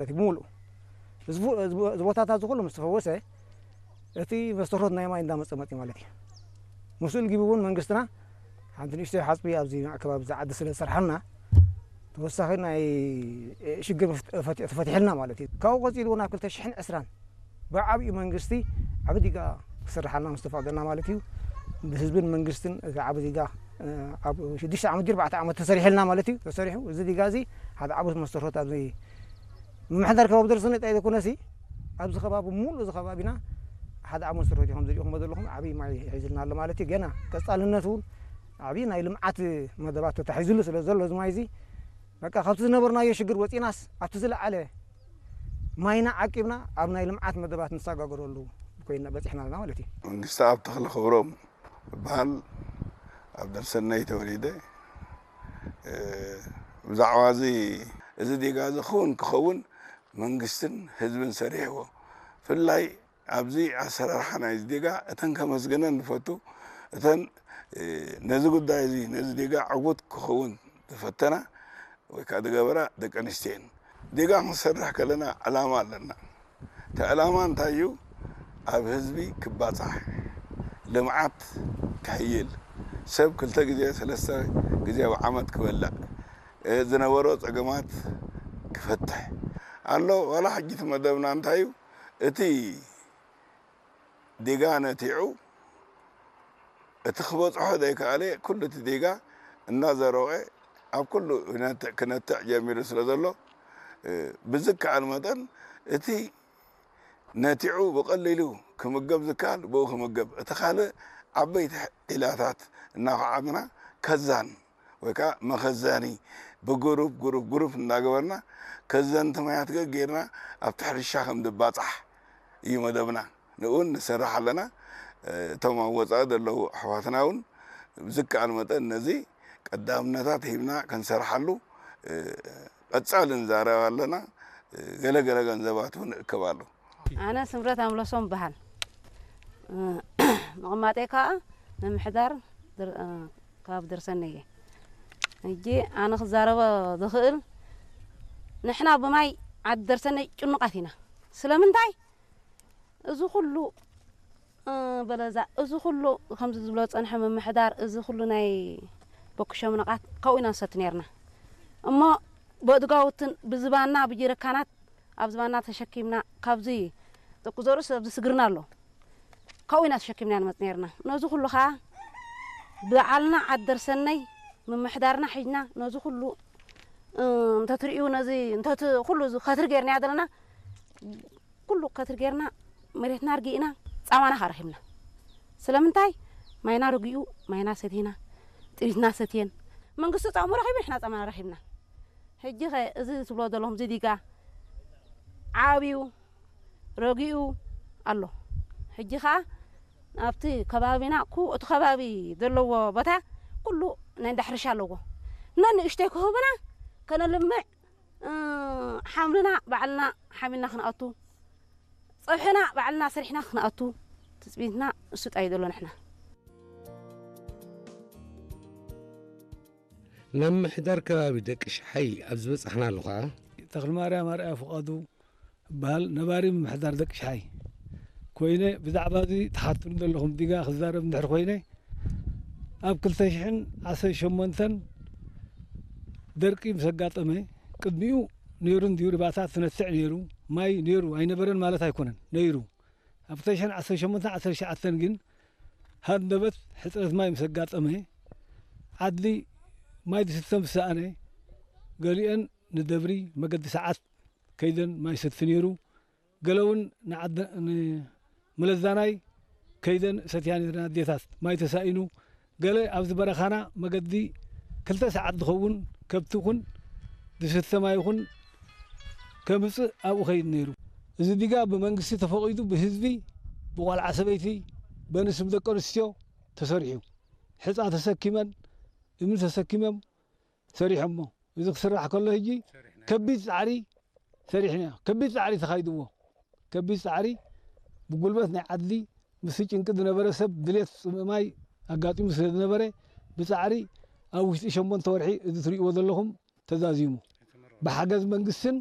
ማለት እዩ። ብምሉእ እዚ ቦ-፣ እዚ ቦ-፣ እዚ ቦታታት እዚ ኩሉ ምስ ተፈወሰ፣ እቲ መስተርሆት ናይ ማይ እንዳመጸ መጽዩ ማለት እዩ። ምስኡ ኢሉ ጊቡ እውን መንግስትና ሓንቲ ንእሽተይ ሓጽቢ ኣብዚ ከባቢ ዝዓዲ ስለ ዝሰርሓልና፣ ተወሳኺ ናይ ሽግር መፍት-፣ ፈቲ-፣ ተፈቲሕልና ማለት እዩ። ካብኡ ቀጺሉ እውን ኣብ ክልተ ሽሕን ዕስራን ብዓብዩ መንግስቲ ዓቢ ዲጋ ክስርሓልና ምስ ተፈቕደልና ማለት እዩ። ብህዝብን መንግስትን እቲ ዓቢ ዲጋ፣ እ፣ ኣብ ሽዱሽተ ዓመት ድዩ ኣርባዕተ ዓመት ተሰሪሕልና ማለት እዩ። ተሰሪሑ እዚ ዲጋ እዚ ሓደ ዓቢ መስተርሆት ኣብዚ ምምሕዳር ከባቢ ደርሰነ ጥራይ ዘይኮነሲ፣ ኣብዚ ከባቢ፣ ሙሉእ እዚ ከባቢና ሓደ ዓቢ መስተርሆት እዩ። ከም ዝሪእኹሞ ዘለኹም ዓቢ ማይ ሒዝልና ኣሎ ማለት እዩ። ገና ቀጻልነት እውን ዓቢ ናይ ልምዓት መደባት ተታሒዙሉ ስለ ዘሎ፣ እዚ ማይ እዚ በቃ ካብቲ ዝነበርናዮ ሽግር ወጺናስ ኣብቲ ዝለዓለ ማይና ዓቂብና ኣብ ናይ ልምዓት መደባት ንሰጋገረሉ ኮይና በጺሕና ኣለና ማለት እዩ። መንግስቲ ኣብ ተኽለ ክብሮም እበሃል፣ ኣብ ደርሰነይ ተወሊደ። እ፣ ብዛዕባ እዚ፣ እዚ ዲጋ እዚ ክውን ክኸውን መንግስትን ህዝብን ሰሪሕዎ። ብፍላይ ኣብዚ ኣሰራርሓ ናይዚ ዲጋ እተን ከመስግነን ንፈቱ፣ እተን፣ እ፣ ነዚ ጉዳይ እዚ፣ ነዚ ዲጋ ዕዉት ክኸውን ዝፈተና ወይ ከዓ ዝገበራ ደቂ ኣንስትዮ እየን። ዲጋ ክንሰርሕ ከለና ዕላማ ኣለና። እቲ ዕላማ እንታይ እዩ? ኣብ ህዝቢ ክባጻሕ፣ ልምዓት ክሕይል፣ ሰብ ክልተ ግዜ፣ ሰለስተ ግዜ ኣብ ዓመት ክበልዕ፣ እ፣ ዝነበሮ ጸገማት ክፈትሕ ኣሎ። ዋላ ሕጂ እቲ መደብና እንታይ እዩ? እቲ ዲጋ ነቲዑ፣ እቲ ክበጽሖ ዘይከኣለ ኩሉ እቲ ዲጋ እናዘረወ ኣብ ኩሉ ክነትዕ፣ ክነትዕ ጀሚሩ ስለ ዘሎ፣ እ፣ ብዝከኣል መጠን እቲ ነቲዑ ብቐሊሉ ክምገብ ዝከኣል ብኡ ክምገብ፣ እቲ ካልእ ዓበይቲ ዒላታት እናኹዓትና ከዛን ወይ ከዓ መኸዘኒ ብግሩፕ፣ ግሩፕ፣ ግሩፕ እናገበርና ከዘንቲ ማያት ገ-፣ ጌርና ኣብቲ ሕርሻ ከም ዝባጻሕ እዩ መደብና። ንኡ እውን ንሰርሕ ኣለና። እ፣ እቶም ኣብ ወጻኢ ዘለዉ ኣሕዋትና እውን ብዝከኣል መጠን ነዚ ቀዳምነታት ሂብና ክንሰርሓሉ፣ እ፣ ቀጻሊ ንዛረብ ኣለና። እ፣ ገለ ገለ ገንዘባት እውን እእከብ ኣሎ። ኣነ ስምረት ኣምለሶም እበሃል። እ፣ ምቕማጠይ ከኣ ምምሕዳር ድር-፣ እ፣ ከባቢ ደርሰነ እየ። ሕጂ ኣነ ክዛረቦ ዝኽእል፣ ንሕና ብማይ ዓዲ ደርሰነ ጭኑቓት ኢና። ስለምንታይ? እዚ ኩሉ፣ እ፣ በለዛ፣ እዚ ኩሉ ከምዚ ዝብሎ ዝጸንሐ ምምሕዳር፣ እዚ ኩሉ ናይ በኩሾ ምንቓት ካብኡ ኢና ንሰቲ ነይርና። እሞ ብእድጋውትን ብዝባና ብጀረካናት ኣብ ዝባና ተሸኪምና ካብዚ ጥቁ ዘርእስ ኣብዚ ስግርና ኣሎ። ካብኡ ኢና ተሸኪምና ንመጽእ ነይርና። ነዚ ኩሉ ኸኣ ብዓልና ዓዲ ደርሰነይ ምምሕዳርና ሒዝና ነዚ ኩሉ፣ እ፣ እንተትርእዩ ነዚ እንተት-፣ ኩሉ እዚ ከትሪ ጌርናዮ ዘለና ኩሉ ከትሪ ጌርና መሬትና ኣርጊእና ጻማና ከኣ ረኺብና። ስለምንታይ? ማይና ረጊኡ፣ ማይና ሰቲና፣ ጥሪትና ሰትየን። መንግስቲ ጻሙ ረኺቡ፣ ንሕና ጻማና ረኺብና። ሕጂ ኸ እዚ ትብሎ ዘለኹም እዚ ዲጋ ዓብዩ ረጊኡ ኣሎ። ሕጂ ኸኣ ኣብቲ ከባቢና ኩ-፣ እቲ ከባቢ ዘለዎ ቦታ ኩሉ ናይ እንዳ ሕርሻ ኣለዎ። ነንእሽተይ ክህቡና ከነልምዕ፣ እ፣ ሓምልና ባዕልና ሓሚልና ክንኣቱ፣ ጸብሕና ባዕልና ሰሪሕና ክንኣቱ፣ ትጽቢትና እሱ ጣይ ዘሎ ንሕና። ናብ ምምሕዳር ከባቢ ደቂ ሽሓይ ኣብ ዝበጻሕናሉ ኸኣ፣ ተኽለማርያም ኣርኣያ ፍቓዱ እበሃል፣ ነባሪ ምምሕዳር ደቂ ሽሓይ ኮይነ፣ ብዛዕባ እዚ ትሓቱኒ ዘለኹም ዲጋ ክዛረብ እንድሕር ኮይነ፣ ኣብ ክልተ ሽሕን ዓሰርተ ሸሞንተን ደርቂ ምስ ኣጋጠመ፣ ቅድሚኡ ነይሩ እንድዩ፣ ርባታት ትነትዕ ነይሩ፣ ማይ ነይሩ፣ ኣይነበረን ማለት ኣይኮነን፣ ነይሩ። ኣብ ክልተ ሽሕን ዓሰርተ ሸሞንተን ዓሰርተ ትሽዓተን ግን ሃንደበት ሕጽረት ማይ ምስ ኣጋጠመ፣ ዓድሊ ማይ ዝስተ ምስ ሰኣነ፣ ገሊአን ንደብሪ መገዲ ሰዓት ከይደን ማይ ሰቲ ነይሩ። ገለ እውን ንዓደ-፣ ንመለዛናይ ከይደን ሰትያ ነይረን ኣዴታት። ማይ ተሳኢኑ፣ ገለ ኣብዚ በረኻና መገዲ ክልተ ሰዓት ዝኸውን ከብቲ ይኹን ዝስተ ማይ ይኹን ከምጽእ ኣብኡ ከይድ ነይሩ። እዚ ዲጋ ብመንግስቲ ተፈቒዱ ብህዝቢ፣ ብቆልዓ ሰበይቲ፣ በንስብ ደቂ ኣንስትዮ ተሰሪሑ። ሕጻ ተሰኪመን፣ እምኒ ተሰኪሞም ሰሪሖሞ። እዚ ክስራሕ ከሎ ሕጂ ከቢድ ጻዕሪ ሰሪሕና። ከቢድ ጻዕሪ ተኻይድዎ። ከቢድ ጻዕሪ ብጉልበት ናይ ዓድሊ ምስቲ ጭንቂ ዝነበረ ሰብ ድሌት ጽምእ ማይ ኣጋጢሙ ስለ ዝነበረ ብጻዕሪ ኣብ ውሽጢ ሸሞንተ ወርሒ እዚ ትርእይዎ ዘለኹም ተዛዚሙ። ብሓገዝ መንግስትን